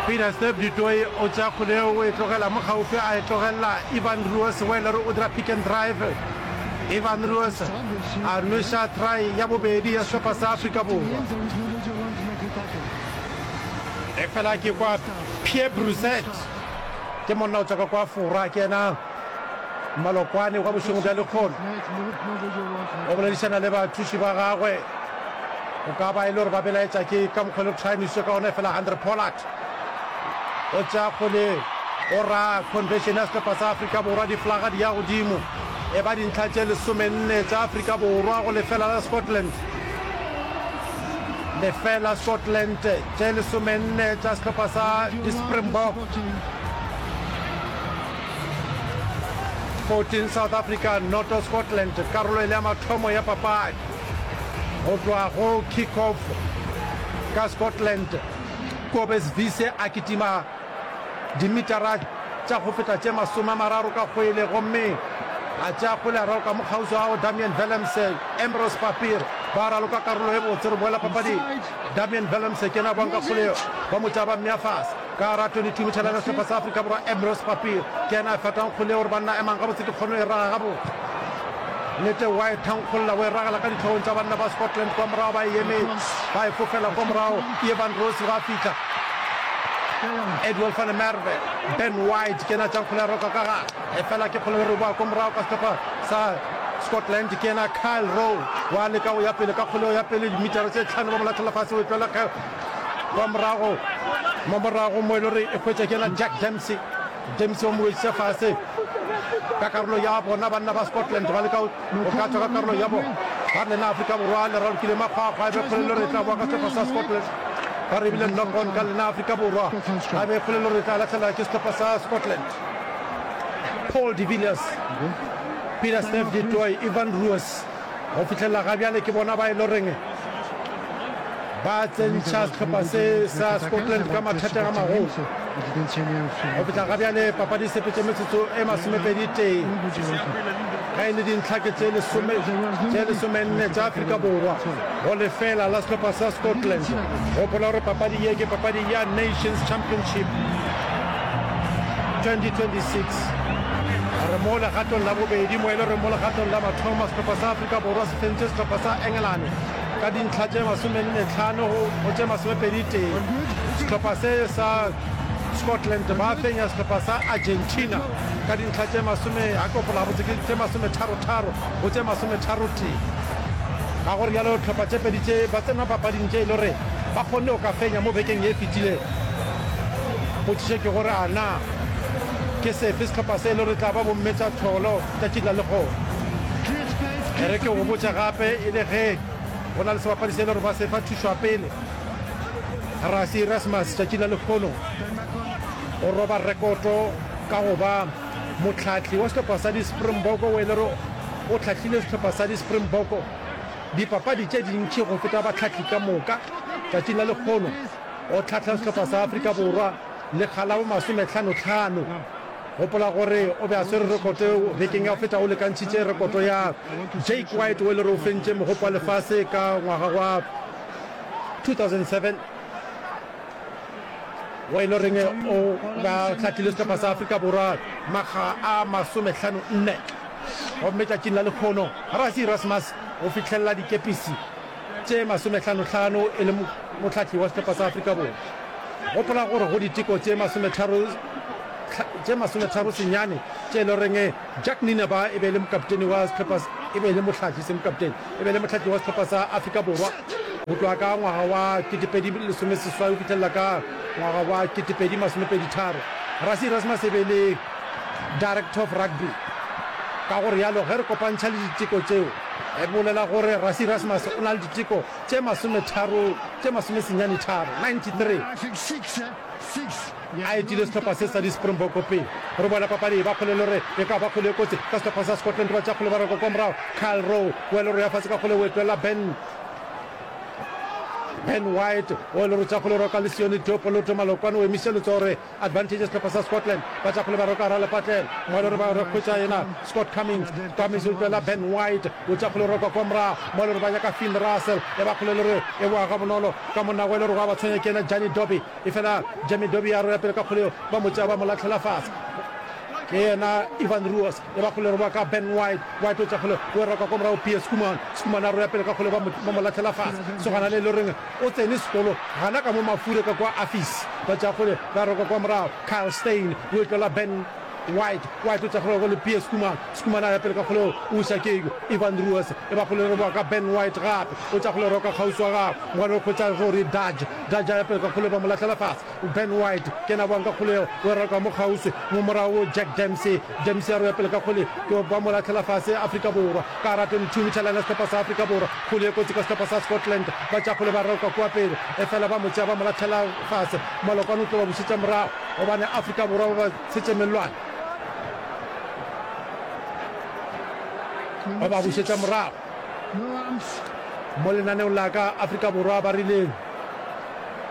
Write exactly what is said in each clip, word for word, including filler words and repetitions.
Peter Step du Toit o tšea kgole eo o e tlogela mo kgauswi, a e tlogelela Evan Roos wa e le gore o dira pick and drive. Evan Roos a nweša try ya bobedi ya sehlopha sa Afrika Borwa. Efela ke kwa Pierre Brousset, ke monna o tšwa ka kwa Fora, ke yena malokwane wa bošego bja lekgono. O boledišana le bathuši ba gagwe, go ka ba e le gore ba belaetša ke ka mokgwa le try nwešišwe ka gona. Efela Andre Pollard o tšea kgole, o ra conversion ya sehlopha sa Afrika Borwa, diflaga di ya godimo, e ba dintlha tše lesomenne tša Afrika Borwa go lefela la Scotland. Lefela Scotland, tše lesomenne tša sehlopha sa di-Springbok. fourteen South Africa noto Scotland, karolo e le ya mathomo ya papadi go tloga go kick off ka Scotland. Kobes Vise a kitima dimitara tša go feta tše masome a mararo ka kgwele gomme a tšea kgwele a raloka mo kgauswi ga go Damian Willemse, Ambrose Papir ba raloka karolo e botse. Re boela papading, Damian Willemse ke yena a boang ka kgwele ba mo tšea ba mmea fase ka gara twenty-two meter line ya sehlopha sa Afrika Borwa. Ambrose Papir ke yena a fetang kgwele gore banna emang gabotse, ke kgono e raga gabotse. Nnete wa e thankgolla, o e ragela ka dihlogong tša banna ba Scotland kwa morago, ba e emetše, ba e fofela kwa morago. Evan Rose ga a fihla, Edwell van der Merwe, Ben White ke yena a tšang kgwele ya roka ka gare, efela ke kgwele re boa kwa morago ka sehlopha sa Scotland, ke yena Kyle Rowe wa leka go ya pele ka kgwele ya pele dimitara tše tlhano, ba mo lahlela fase, o e tlohela kwa morago mo morago mo e le gore e hwetša ke yena Jack Dempsey. Dempsey o mo wediša fase ka karolo ya bona. Banna ba Scotland ba leka go ka tšwa ka karolo ya bona, ba re lena Afrika Borwa le ralokile makgwakgwa, e be kgolelo re tla boa ka sehlopha sa Scotland. Ba re ebile knock on ka lena Afrika Borwa, a be kgolelo re tla lahlela ke sehlopha sa Scotland. Paul de Villiers, Peter Steph du Toit, Ivan Roos go fihlelela ga bjale ke bona ba e loreng ba tsentšha sehlopha se sa Scotland ka mathateng a magolo. Go fihla ga bjale papadi e sepetše metsotso e masomepedi tee, ge e le dintlha ke tše lesome tše lesomenne tša Afrika Borwa go lefela la sehlopha sa Scotland. Gopola gore papadi ye ke papadi ya Nations Championship twenty twenty-six. Re mo legatong la bobedi mo e le gore mo legatong la mathomo sehlopha sa Afrika Borwa se fentše sehlopha sa Engelane ka dintlha tše masomenne tlhano go tše masomepedi tee. Sehlopha se sa Scotland ba fenya sehlopha sa Argentina ka dintlha tše masome, ga ke gopola gabotse, ke tše masometharo-tharo go tše masometharo tee. Ka go realo hlopha tše pedi tše ba tsena papading tše e le gore ba kgonne go ka fenya mo bekeng ye e fetilego. Potšišo ke gore a na ke sefe sehlopha se e le gore tla ba bomme tša tholo tšatšing la lehono? E re ke go botše gape e le ge go na le sebapadi se e le gore ba se fa thušo ya pele, Rassie Erasmus tšatšing la lehono o roba rekoto ka go ba mohlahli wa sehlopha sa di-Springbok o e le gore o hlahlile sehlopha sa di-Springbok dipapadi tše dintši go feta bahlahli ka moka. Tšatšing la lehono o hlahla sehlopha sa Afrika Borwa lekga la bo masomehlanohlano. Gopola gore o be a swere rekoto eo bekeng ya go feta, o lekantšhitše rekoto ya Jake White o e le gore o fentše Mogopo wa Lefase ka ngwaga wa two thousand seven o e le goreng o be a hlahlile sehlopha sa Afrika Borwa makga a masomehlano nne. Gomme tšatšing la lekgono Rassie Erasmus o fihlelela dikepisi tše masomehlanohlano e le mohlahli wa sehlopha sa Afrika Borwa. Gopola gore go diteko tše masometharo tše masometharo senyane tše e le goreng Jacques Nienaber e be e le mokaptene wa sehlopha, e be e le mohlahli, se mokaptene, e be e le mohlahli wa sehlopha sa Afrika Borwa go tloga ka ngwaga wa ketepedi lesome seswai go fihlelela ka ngwaga wa ketepedi masomepedi tharo. Rassie Erasmus e be e le Director of Rugby. Ka go realo ge re kopantšha le diteko tšeo, e bolela gore Rassie Erasmus o na le diteko tše masometharo, tše masomesenyane tharo, ninety-three, a etile sehlopha se sa di-Springbok pele. Re boela papading, ba kgole le gore e ka ba kgole e kotsi ka sehlopha sa Scotland, ba tšea kgole ba reka kwa morago. Kyle Rowe o ya le gore ya fase ka kgole o e tlohela Ben Ben White o le rotša kgole roka le Sione Teopoloto Malokwane o emiša letsogo gore advantage ya sehlopha sa Scotland. Ba tša kgole ba roka gara lepatlelo. Mo e le gore ba re hwetša yena Scott Cummings. Cummings o tloela Ben White o tša kgole roka kwa morago. Mo e le gore ba nyaka Finn Russell e ba kgole le gore e boa gabonolo ka monna o e le gore wa ba tshwenya ke yena Jani Dobie. Efela Jamie Dobie a roya pele ka kgole yeo ba mo tšea ba mo lahlela fase. Ke yena Ivan Ruos e ba kgole roba ka Ben White. White o tša kgole o e roka kwa morago Pierre Schoeman. Schoeman a roya pele ka kgole ba mo, ba mo lahlela fase. Sogana le e le goreng o tsene sekolo gana ka mo Mafure ka kwa Affies. Ba tša kgole ba roka kwa morago Kyle Steyn o e tlola Ben White. White o tša kgole le Pierre Schoeman. Schoeman a ya pele ka kgole o iša ke Ivan Ruos e ba kgole roba ka Ben White gape o tša kgole roka kgauswi wa gagwe. Mogale o hwetša Rory Dudge. Dudge a ya pele ka kgole ba mo lahlela fase. Ben White ke yena a boang ka kgole yeo, o e raloka mo kgauswi, mo morago Jack Dempsey. Dempsey a roya pele ka kgole, ke ba mo lahlela fase Afrika Borwa. Ka gara twenty-two meter line ya sehlopha sa Afrika Borwa, kgole ye kotsi ka sehlopha sa Scotland. Ba tšea kgole ba raloka kua pele, efela ba mo tšea ba mo lahlela fase. Malokwane o tlo ba bušetša morago gobane Afrika Borwa ba ba tshetše mellwane. Ba ba bušetša morago. Mo lenaneong la ka Afrika Borwa ba rile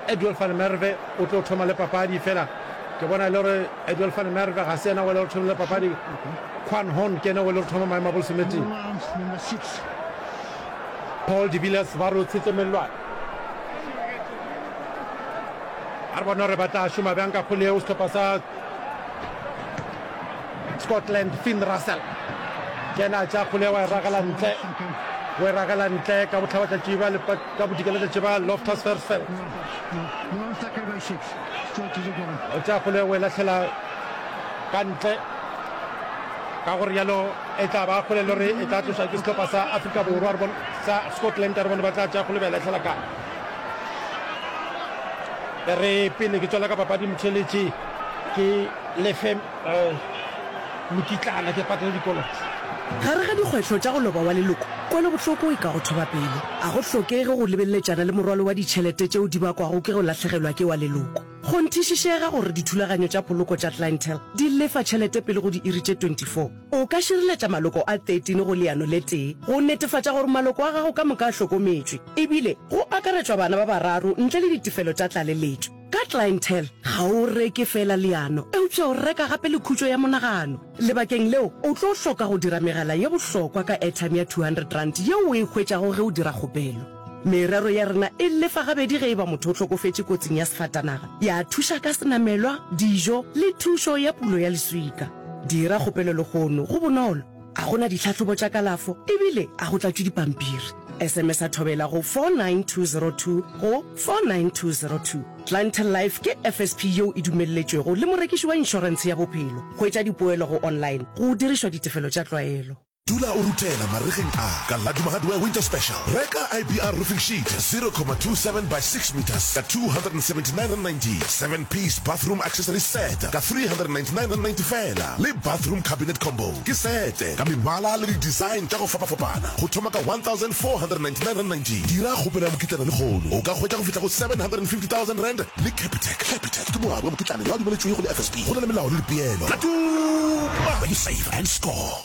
Edwill van Merwe o tlo thoma le papadi, fela ke bona e le gore Edwill van Merwe ga se yena wa le gore thomile papadi. Quan Horn ke yena wa le gore thoma maemo a bolesometee. Paul de Villiers ba re o tshetše mellwane. A re bone gore ba tla šoma bjang ka kgole yeo sehlopha sa Scotland. Finn Russell ke yena a tšea kgole wa e ragela ntle, o e ragela ntle ka bohlabatšatši ba ka bodikelatšatši ba Loftus Versfeld. O tšea kgole o e lahlela ka ntle, ka go rialo e tla ba kgole le gore e tla tloša ke sehlopha sa Afrika Borwa re bone sa Scotland, re bone ba tla tšea kgole ba e lahlela kae. E re pele ke tswela ka papadi motheletši ke lefe mokitlana ke patele dikoloto. Gare ga dikgwehlo tša go loba wa leloko, kwelobohloko e ka go thoba pelo. A go hlokege go lebeletšana le morwalo wa ditšhelete tšeo di bakwago ke go lahlegelwa ke wa leloko. Kgonthišišega gore dithulaganyo tša poloko tša Clientele di lefa tšhelete pele go diiri tše twenty-four. O ka šireletša maloko a thirteen go leano le tee go netefatša gore maloko a gago ka moka a hlokometšwe, ebile go akaretšwa bana ba bararo ntle le ditefelo tša tlaleletšo. Ka Clientele, ga o reke feela leano, eupša o reka gape le khutšo ya monagano. Lebakeng leo, o tlo hloka go dira megala ye bohlokwa ka airtime ya two hundred rand yeo o e hwetšago ge o dira kgopelo. Merero ya rena e lefa gabedi ge e ba motho o hlokofetše kotsing ya sefatanaga, ya thuša ka senamelwa, dijo le thušo ya pulo ya leswika. Dira kgopelo lehono, go bonolo, a go na ditlhahlobo tša kalafo ebile a go tlatšwe dipampiri. S M S a thobela go four nine two zero two go four nine two zero two. Clientele Life ke F S P yeo e dumelletšwego le morekiši wa inšorentshe ya bophelo. Hwetša dipoelo go online go dirišwa ditefelo tša tlwaelo. Dula o ruthela maregeng a ka Laduma Hardware Winter Special. Reka I B R Roofing Sheet zero comma two seven by six meters ka two hundred and seventy nine rand ninety, seven piece bathroom accessory set ka three hundred and ninety nine rand ninety fela, le bathroom cabinet combo ke sete ka mebala le di-design tša go fapafapana go thoma ka one thousand four hundred and ninety nine rand ninety. Dira kgopelo ya mokitlana lehono, o ka hwetša go fihla go seven hundred and fifty thousand rand le Capitec. Capitec ke moabi wa mokitlana yo a dumeletšwego le F S P. Go na le melao le dipeelo. Laduma, where you save and score.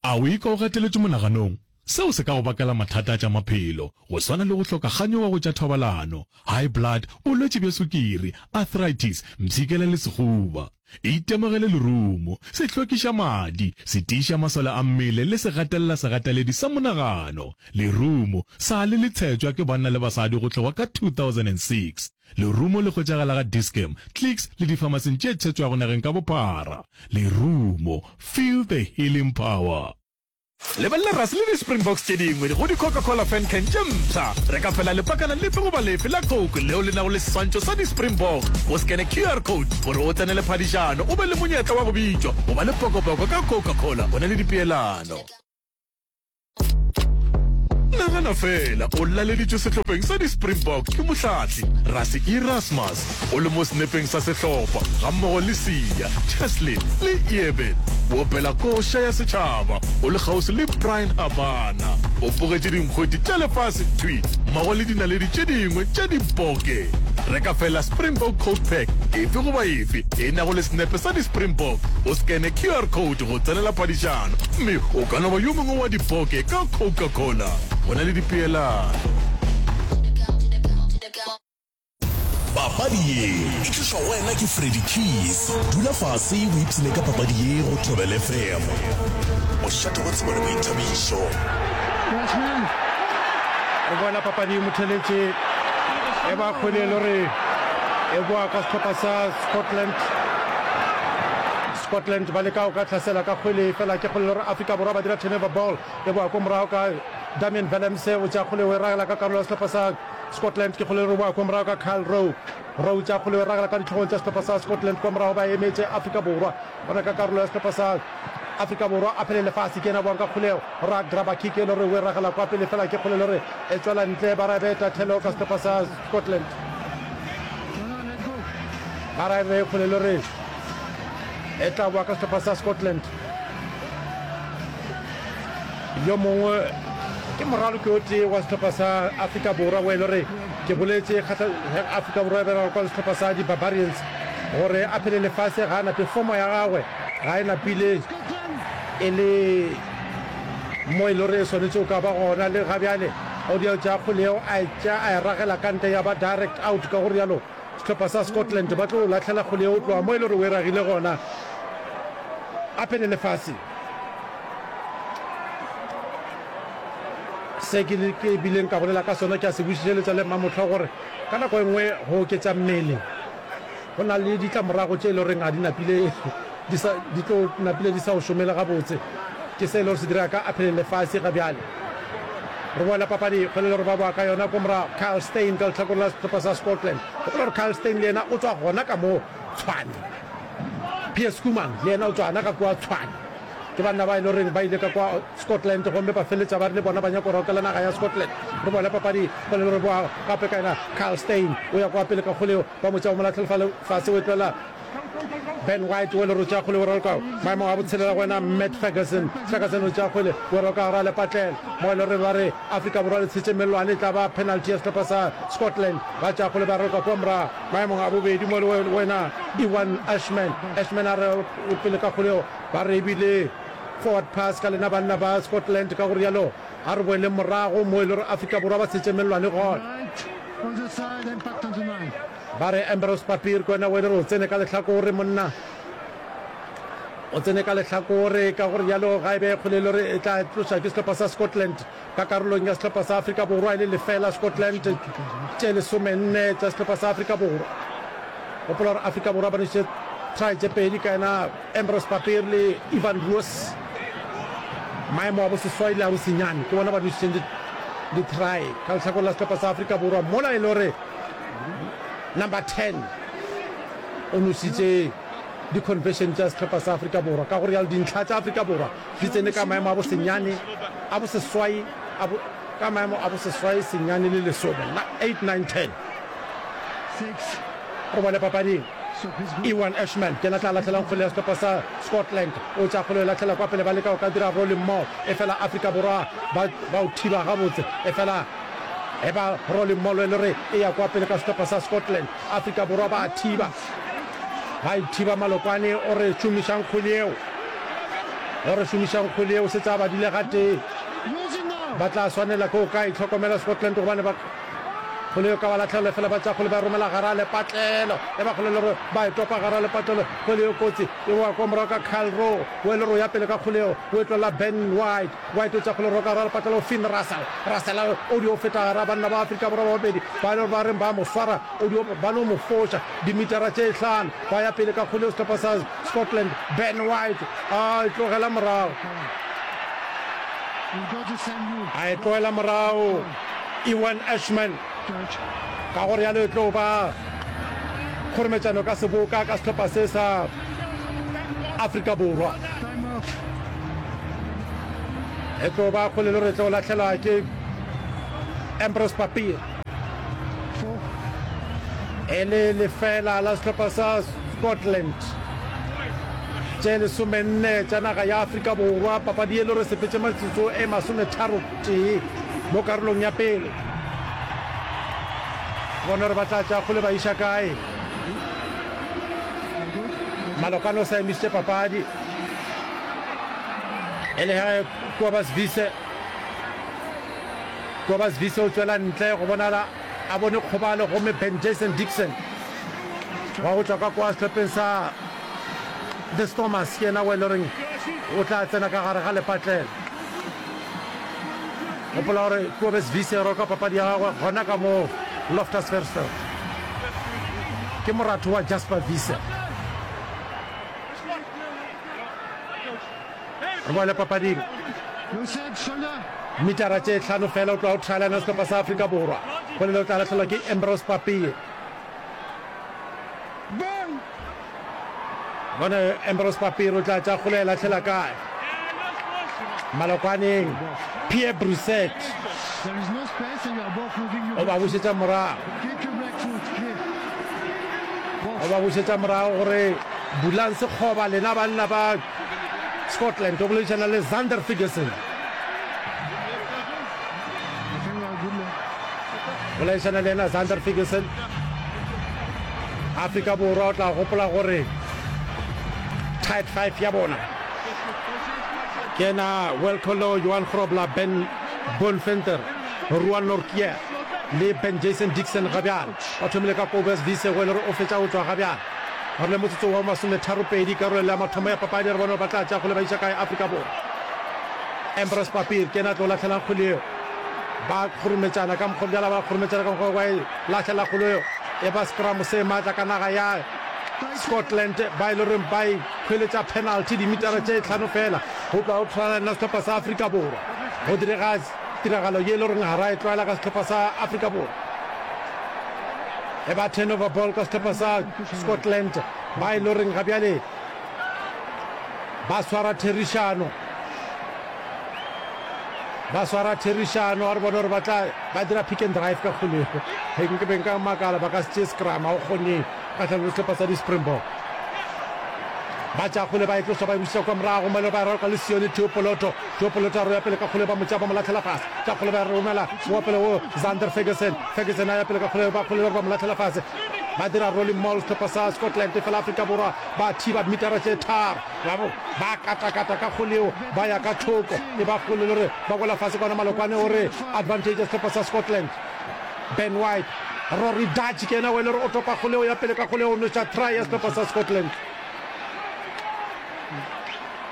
A o ikwa o gateletšwe monaganong? Seo se ka go bakela mathata a tša maphelo, go swana le go hloka kganyogo go tša thobalano, high blood, bolwetši bja sukiri, arthritis, mpshikela le sehuba. Itemogele lerumo, se hlwekiša madi, se tiiša masole a mmele le se gatelela segateledi sa monagano. Lerumo sa le le tshetšwa ke banna le basadi go tloga ka two thousand and six. Lerumo le hwetšagala ga Dis-Chem, Clicks le difamasing tše tshetšwago nageng ka bophara. Lerumo, feel the healing power. Lebelela Rassie le di-Springboks tše dingwe go di-Coca-Cola Fan Can tše mpsha. Reka fela lepakana lefe goba lefe la Coke leo le nago le seswantšho sa di-Springbok. O skene Q R code gore o tsenele phadišano o be le monyetla wa go bitšwa go ba le pokopoko ka Coca-Cola go na le dipeelano. Nagana fela o laleditšwe sehlopheng sa di-Springbok ke mohlahli Rassie Erasmus o le mo senepeng sa sehlopha gammogo le Siya, Cheslin le Eben. O opela koša ya setšhaba o le kgauswi le Bryan Habana. O bogetše dinkgwete tša lefase thwi mmogo le dinaledi tše dingwe tša diboke. Reka fela Springbok Coke Pack efe goba efe e nago le senepe sa di-Springbok, o skene Q R code go tsenela phadišano mme o ka no ba yo mongwe wa diboke ka Coca-Cola. Go na le dipeelano. Papadi ye e tlišwa go wena ke Freddy Keys. Dula fase o ipshine ka papadi ye go Thobela F M. Mošate wa tsebo le boithabišo. Re boela papading motheletše e ba kgwele e le gore e boa ka sehlopha sa Scotland. Scotland ba leka go ka hlasela ka kgwele fela ke kgwele e le gore Afrika Borwa ba dira turnover ball e boa ko morago ka Damian Willemse o tšea kgwele o e ragela ka karolo ya sehlopha sa Scotland ke kgwele e le gore e boa ko morago ka Kyle Rowe. Rowe tšea kgwele o e ragela ka dihlogong tša sehlopha sa Scotland kwa morago ba emetše Afrika Borwa gona ka karolo ya sehlopha sa Afrika Borwa a phele lefase ke yena boang ka kgoleo ra grabber kick e le gore o e ragela kwa pele fela ke kgole e le gore e tšwela ntle ba ra be tahlelo ka sehlopha sa Scotland ba ra be kgole e le gore e tla boa ka sehlopha sa Scotland yo mongwe ke moraloki o tee wa sehlopha sa Afrika Borwa o e le gore ke boletše Afrika Borwa e bereka kwa le sehlopha sa di-Barbarians gore a phele lefase ga a nape fomo ya gagwe ga e napile e le mo e le gore e swanetše go ka ba gona le ga bjale o dio tšea kgwele yeo a e tšea a e ragela ka ntle ya ba direct out ka go rialo sehlopha sa Scotland ba tlo lahlela kgwele yeo tloga mo e le gore o e ragile gona a phele lefase. Se ke ke bileng ka bolela ka sona ke a se bušeletša le Mmamohla gore ka nako e nngwe go oketša mmele go na le ditlamorago tše e le goreng ga di napile di sa di tlo napile di sa o šomele gabotse. Ke se e le gore se direga ka Aphele Lefase ga bjale. Re boela papadi kgwele le gore ba boa ka yona ko morago Kyle Steyn ka lehlakoreng la sehlopha sa Scotland. Gopola gore Kyle Steyn le yena o tšwa gona ka mo Tshwane. Pierre Schoeman le yena o tšwa gona ka kua Tshwane. Ke banna ba e le goreng ba ile ka kua Scotland gomme ba feleletša ba re le bona ba nyaka go rokela naga ya Scotland. Re boela papadi kgwele le gore boa gape ka yena Kyle Steyn o ya kua pele ka kgwele ba mo tšea ba mo lahlela fale fase o e tlohela Ben White o le re o tšea kgwele o raloka maemong a botshelela go wena Matt Ferguson. Ferguson o tšea kgwele o raloka gare a lepatlela mo e le gore ba re Afrika Borwa le tshetše mellwane e tla ba penalty ya sehlopha sa Scotland. Ba tšea kgwele ba raloka kua morago maemong a bobedi mo le wena Ewan Ashman. Ashman a re pele ka kgwele ba re ebile forward pass ka lena banna ba Scotland ka go rialo a re boeleng morago mo e le gore Afrika Borwa ba tshetše mellwane gona. Ba re Ambrose Papier ke wena o e le gore o tsene ka lehlakore monna o tsene ka lehlakore ka go rialo ga e be kgwele e le gore e tla tloša ke sehlopha sa Scotland ka karolong ya sehlopha sa Afrika Borwa e le lefela Scotland tše lesomenne tša sehlopha sa Afrika Borwa. Gopola gore Afrika Borwa ba nwešitše try tše pedi ka yena Ambrose Papier le Ivan Roos. Maemo a boseswai le a bosenyane ke bona ba nwešitšeng di-try ka lehlakoreng la sehlopha sa Afrika Borwa mola e le gore number ten o nwešitše di-conversion tša sehlopha sa Afrika Borwa. Ka go rialo dintlha tša Afrika Borwa di tsene ka maemo a bosenyane a boseswai a bo, ka maemo a boseswai senyane le lesome, eight, nine, ten. Re bone papading Ewan Ashman ke yena tla lahlelang kgwele ya sehlopha sa Scotland. O tša kgwele o lahlela kwa pele ba leka go ka dira rolling maul efela Afrika Borwa ba ba o thiba gabotse efela e ba rolling maul e le gore e ya kwa pele ka sehlopha sa Scotland. Afrika Borwa ba thiba ba e thiba Malokwane o re šomišang kgwele yeo o re šomišang kgwele yeo setse a badile gatee ba tla swanela ke go ka itlhokomela Scotland gobane ba kgwele yeo ka ba lahlelo fela ba tša kgwele ba romela gara lepatlelo e ba kgwele le gore ba e topa gara lepatlelo kgwele yeo kotsi e boa kwa morago ka Kyle Rowe o e le gore o ya pele ka kgwele yeo o e tlolela Ben White White o tša kgwele roka gara lepatlelo Finn Russell Russell o dio feta gara banna ba Afrika Borwa ba babedi ba le gore ba reng ba mo swara o dio ba no mo foša dimitara tše hlano ba ya pele ka kgwele yeo sehlopha sa Scotland Ben White a e tlogela morago a e tlogela morago Ewan Ashman ka go realo e tlo ba kgorometšano ka seboka ka sehlopha se sa Afrika Borwa. E tlo ba kgole le gore e tlo lahlelwa ke Ambrose Papier. E le lefela la sehlopha sa Scotland. Tše lesomenne tša naga ya Afrika Borwa papadi e le gore sepetše metsotso e masometharo tee mo karolong ya pele. Bona gore ba tla tša kgole ba iša kae. Malokane o sa emišitše papadi e le ge Kobus Wiese Kobus Wiese o tšwela ntle go bonala a bone kgobalo gomme Ben Jason Dixon Wa go tšwa ka kwa sehlopheng sa The Stormers ke yena o e le goreng o tla tsena ka gare ga lepatlelo. Gopola gore Kobus Wiese o roka papadi ya gagwe gona ka mo Loftus Versfeld. Ke moratho wa Jasper Wiese. Re boele papading. Metara tše hlano fela o tloga o thaelana sehlopha sa Afrika Borwa. Polelo o tla lahlelwa ke Ambrose Papie. Bone Ambrose Papie o tla tša kgole lahlela kae? Malokwaneng Pierre Brusset o ba bušetša morago. O ba bušetša morago gore bulang sekgoba lena banna ba Scotland. O boledišana le Zander Ferguson. Boledišana le yena Zander Ferguson. Afrika Borwa o tla gopola gore tight five ya bona ke yena Wilco Louw, Johan Grobler, Ben Bonventer, Ruan Nortje le Ben Jason Dixon. Ga bjale ba thomile ka Kobus Wiese go e le gore o fetša go tšwa ga bjale. Re le motsotso wa masometharopedi karolo ya mathomo ya papadi, re bone gore ba tla tšea kgole ba iša kae Afrika Borwa. Ambrose Papir ke yena a tlo lahlelang kgole yeo. Ba kgorometšana ka mokgwa bjala, ba kgorometšana ka mokgwa wa e lahlela kgole yeo. E ba scrum se maatla ka naga ya Scotland ba e le goreng ba e hweletša penalty dimitara tše hlano fela go tloga go tshwana le sehlopha sa Afrika Borwa. Go direga tiragalo ye e le goreng ga ra e tlwaela ka sehlopha sa Afrika Borwa. E ba turnover ball ka sehlopha sa Scotland ba e le goreng ga bjale ba swara therišano. Ba swara therišano, a re bone gore ba tla ba dira pick and drive ka kgolego. Ge nke be nka makala ba ka se tšee scrum, ga o kgone kgahlanong le sehlopha sa di-Springbok. Ba tšea kgole ba e tloša ba e bušetša kwa morago, mo e le ba e raloka le Sione Theo Poloto. Theo Poloto a roya pele ka kgole ba mo tšea ba mo lahlela fase. Tša kgole ba e romela wa pele go Zander Ferguson. Ferguson a ya pele ka kgole ba kgole ba mo lahlela fase. Ba dira rolling maul sehlopha sa Scotland, efela Afrika Borwa ba thiba mitara tše tharo. Ba ba katakata ka kgole yeo ba ya ka thoko, e ba kgole le gore ba wela fase ka ona malokwane o re advantage ya sehlopha sa Scotland. Ben White, Rory Dutch ke yena o e le gore o topa kgole yeo ya pele ka kgole yeo o nweša try ya sehlopha sa Scotland.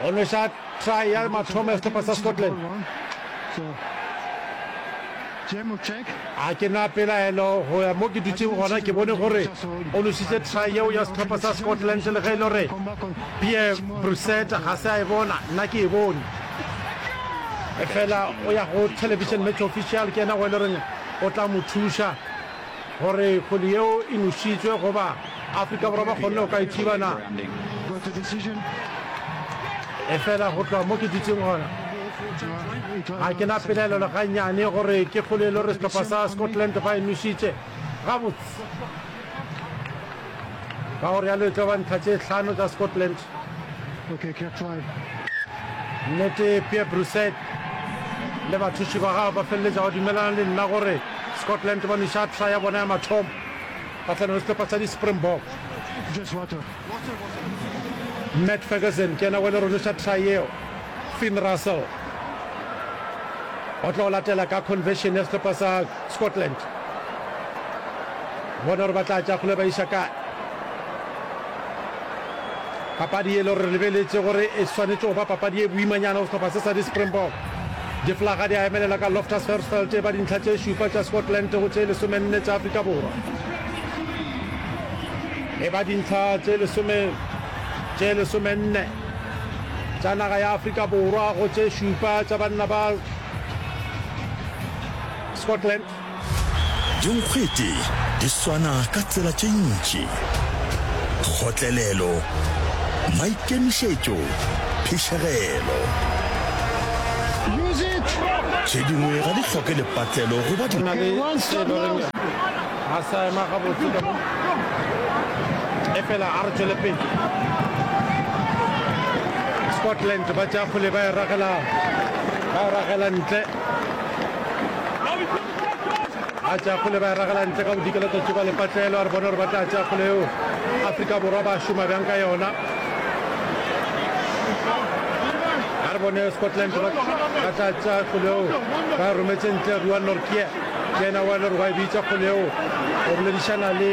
O nweša try ya mathomo ya sehlopha sa Scotland. A ke na pelaelo go ya mo ke dutšeng gona ke bone gore o nwešitše try yeo ya sehlopha sa Scotland le ge e le gore Pierre Brusset ga se a e bona, nna ke e bone. Efela o ya go television match official ke yena go e le goreng o tla mo thuša gore kgwele yeo e nošitšwe goba Afrika Borwa ba kgonne go ka e thiba na. Efela go tloga mo ke dutšeng gona ga ke na pelaelo le gannyane gore ke kgwele e le gore sehlopha sa Scotland ba e nošitše gabotse. Ka go realo e tlo ba ntlha tše hlano tša Scotland. Nnete Pierre Brousset le bathuši ba gagwe ba feleletša ba dumelana le nna gore Scotland ba nweša try ya bona ya mathomo kgahlanong le sehlopha sa di-Springbok. Matt Ferguson ke yena wa le ronoša try yeo. Finn Russell o tlo latela ka conversion ya sehlopha sa Scotland. Bona gore ba tla tša kgole ba iša kae. Papadi e le gore re lebeletše gore e swanetše go ba papadi e boimanyana go sehlopha se sa di-Springbok. Diflaga di a emelela ka Loftus Versfeld e ba dintlha tše šupa tša Scotland go tše lesomenne tša Afrika Borwa. E ba dintlha tše lesome tše lesomenne tša naga ya Afrika Borwa go tše šupa tša banna ba Scotland. Dinkgwete di swana ka tsela tše ntši, kgotlelelo, maikemišetšo, phišegelo. Tše dingwe ga di hloke lepatlelo goba Go na le se e le goreng ga sa ema gabotse ka mo, efela a re tšwele pele. Scotland ba tšea kgwele ba e ragela, ba e ragela ntle. Ba tšea kgole ba e ragela ntle ka bodikela tšatši ba lepatlelo. A re bone gore ba tla tšea kgole yeo Afrika Borwa ba šoma bjang ka yona. A re bone Scotland ba ba tla tšea kgole yeo ba e rometše ntle. Ruan Nortje ke yena wa le gore wa e bitša kgole yeo, o boledišana le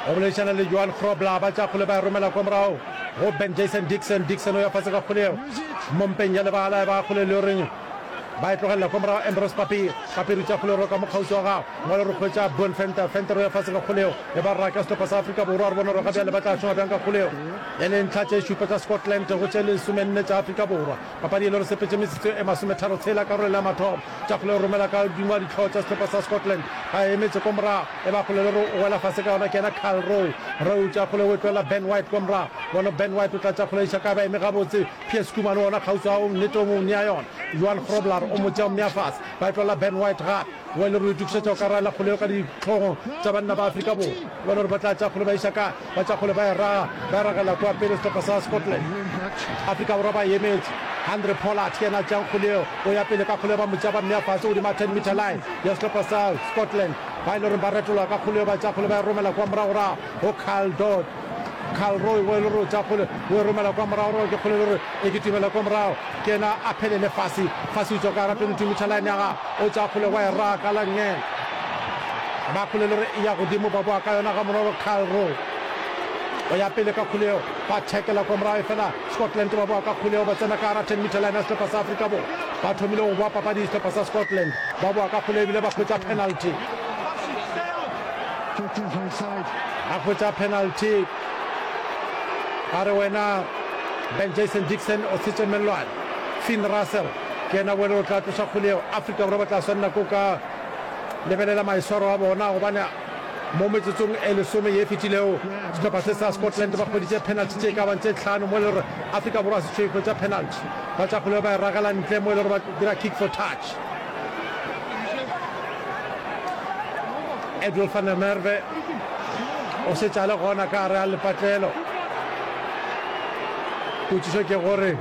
O boledišana le Johan Grobler, ba tša kgole ba e romela kwa morago go Ben Jason Dixon. Dixon o ya fase ka kgole yeo mo mpeng ya lebala, ba kgole le goreng ba e tlogelela kwa morago. Ambrose Papier, Papier o tša kgole roka mo kgauswi wa gago ngwale re hwetša Boan Venter, Venter o ya fase ka kgole yeo e ba raka sehlopha sa Afrika Borwa. Re bone gore ga bjale ba tla šoma bjang ka kgole yeo e le ntlha tše šupa tša Scotland go tše lesomenne tša Afrika Borwa. Papadi e le gore sepetše metsotso e masometharo tshela karolo ya mathomo. Tša kgole romela ka godimo ga dihlogo tša sehlopha sa Scotland. Ba emetše ko morago. E ba kgole le gore o wela fase ka yona ke yena Kyle Rowe. Rowe tša kgole o e tlohela Ben White ko morago. Bona Ben White o tla tša kgole iša kae ba eme gabotse. Piers Koeman o ona kgauswi ga o nnete o mo nea yona. Johan Grobler o mo tšea o mmea fase. Ba e tlohela Ben White gape. O e le gore o itokišetša go ka raela kgole yeo ka dihlogong tša banna ba Afrika Borwa. Bona gore ba tla tša kgole ba iša kae. Ba tša kgole ba e raga, ba e ragela kua pele sehlopha sa Scotland. Afrika Borwa ba e emetše. Handre Pollard ke yena a tšeang kgole yeo, o ya pele ka kgole yeo, ba mo tšea ba mmea fase godimo ga ten meter line ya sehlopha sa Scotland. Ba e le gore ba retologa ka kgole yeo, ba tšea kgole ba e romela kua moragorago go Kyle Dodd. Kyle Roy o e le gore o tšea kgole o e romela kua moragorago, ke kgole e le gore e kitimela kua morago, ke yena a phelele fase. Fase o tšwa ka gara twenty two meter line ya gagwe, o tšea kgole wa e raga ka la nngele. Ba kgole le gore e ya godimo, ba boa ka yona gabonolo. Kyle Rowe o ya pele ka kgole yeo, ba thekela kwa morago, efela Scotland ba boa ka kgole yeo, ba tsena ka gara ten meter line ya sehlopha sa Afrika Borwa. Ba thomile go boa papadi sehlopha sa Scotland, ba boa ka kgole ebile ba hwetša penalty. Ba hwetša penalty. Ba re wena Ben Jason Dixon o tshetše mellwane. Finn Russell ke yena o le o tla tloša kgole yeo. Afrika Borwa ba tla swanela ke go ka Lebelela maiswaro a bona, gobane mo metsotsong e lesome ye e fetilego, sehlopha se sa Scotland ba hweditše penalty tše e ka bang tše hlano mo e le gore Afrika Borwa se tšo e hwetša penalty. Ba tša kgole ba e ragela ntle mo e le gore ba dira kick for touch. Edwill van der Merwe o šetše a le gona ka gare ga lepatlelo. Potšišo ke gore,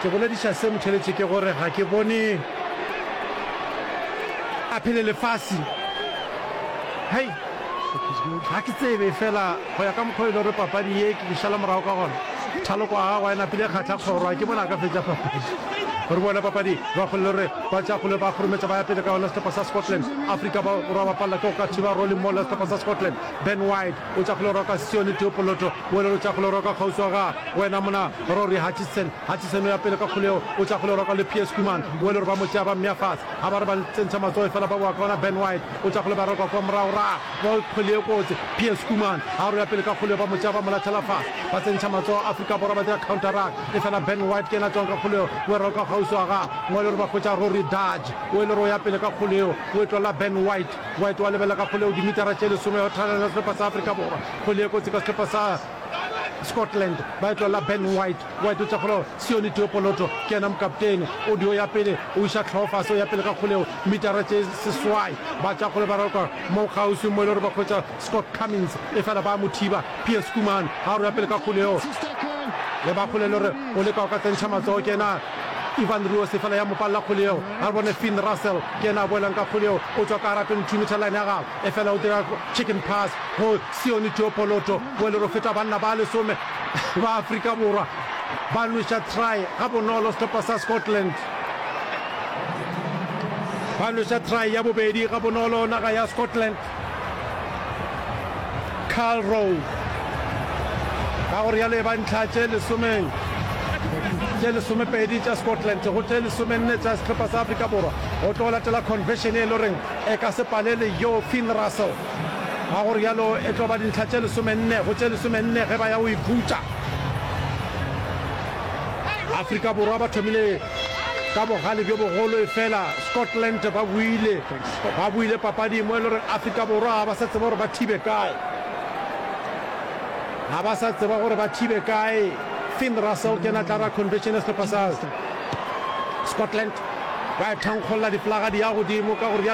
ke bolediša se motheletši ke gore ga ke bone a phele lefase. Hei, ga ke tsebe, efela go ya ka mokgwa o e le gore papadi ye ke šala morago ka gona, thaloko ya gagwe e napile e kgahla kgoro, ga ke bone a ka fetša papadi. Re bone papadi ba kgole le gore ba tša kgole ba kgorometša ba ya pele ka yona sehlopha sa Scotland. Afrika Borwa ba palela ke go ka thiba rolling maul ya sehlopha sa Scotland. Ben White o tša kgole roka Sione Teopoloto o le o tša kgole roka kgauswi wa gagwe wena mona Rory Hutchison. Hutchison o ya pele ka kgole yeo, o tša kgole roka le Piers Koeman o le gore ba mo tšea ba mmea fase. Ga ba re ba tsentšha matsogo efela ba boa ka ona Ben White o tša kgole ba roka kwa morago ra ba kgwele ye kotsi. Piers Koeman ga re o ya pele ka kgole yeo ba mo tšea ba mo latlhela fase. Ba tsentšha matsogo Afrika Borwa ba dira counter ruck efela Ben White ke yena a tšwang ka kgole yeo o e roka kgauswi wa gagwe mo e le gore ba hwetša Rory Darge o e le gore o ya pele ka kgole yeo o e tlola Ben White. White wa lebelela ka kgole yeo dimitara tše lesome ya go thalela sehlopha sa Afrika Borwa. Kgwele ye kotsi ka sehlopha sa Scotland ba e tlolela Ben White. White o tša kgole Sione Teopoloto ke yena mokaptene. O dio ya pele o iša hlogo fase o ya pele ka kgole yeo mitara tše seswai. Ba tša kgole ba raloka mo kgauswi mo e le gore ba hwetša Scott Cummins efela ba mo thiba. Piers Koeman ga o ya pele ka kgole yeo le ba kgole le gore o leka go ka tsentšha matsogo ke yena Ivan Ruos efela ya mo palela kgole yeo. Ga re bone Finn Russell ke yena a boelang ka kgole yeo o tšwa ka gara twenty two meter line ya gagwe efela o dira chicken pass go Sione Teopoloto o e le gore o feta banna ba lesome ba Afrika Borwa ba nweša try gabonolo sehlopha sa Scotland ba nweša try ya bobedi gabonolo naga ya Scotland. Carl Rowe ka go rialo e ba ntlha tše lesome tše lesomepedi tša Scotland go tše lesomenne tša sehlopha sa Afrika Borwa go tlo latela conversion e le goreng e ka se palele yo Finn Russell ka go rialo e tlo ba dintlha tše lesomenne go tše lesomenne ge ba ya go ikhutša. Afrika Borwa ba thomile ka bogale bjo bogolo efela Scotland ba boile ba boile papading mo e le gore Afrika Borwa ga ba sa tseba gore ba thibe kae. Ga ba sa tseba gore ba thibe kae. Finn Russell ke yena tla ra conversion ya sehlopha sa Scotland. Ba e thankgolla diflaga di ya godimo ka go rialo.